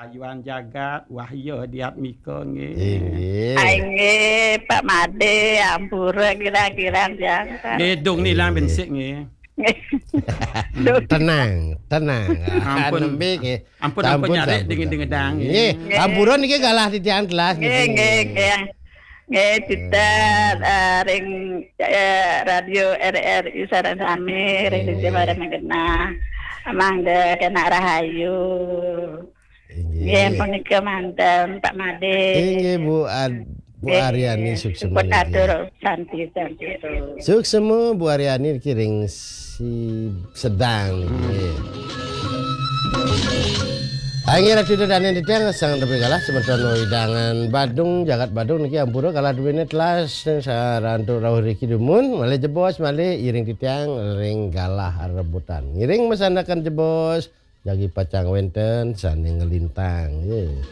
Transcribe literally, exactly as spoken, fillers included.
Ayuan Jagat, Wahya Diatmika nggih. Inggih. Ai nggih, Pak Made, ampura kirang-kirang jangan. Nggih, dung ni lang bensik nggih. Tenang, tenang. Ampun. Anembe nggih. Ampun, ampun, nyarik dingin-dingin dang. Nggih, ampura niki galah titiang telas Nggih, nggih, nggih. Nggih, kita eh, ring eh, radio R R I sareng sami ring sisi para menggenah. Mangga kena rahayu. Nggih, Inggih. Punika manten Pak Made. Inggih Bu Ad- Bu Nggih, Aryani suksema. Pun atur santi santi. Suksema Bu Aryani niki ring si sedang niki. Nggih. Inggih Ratu Dadan titiang sang tepi galah semeton wewidangan Badung, jagat Badung niki ampura galah duwene telas sarantuk rauh riki dumun, malih jebos malih iring titiang ring galah rebutan. Ngiring masandekan jebos jagi pacang wenten sane ngelintang. Nggih.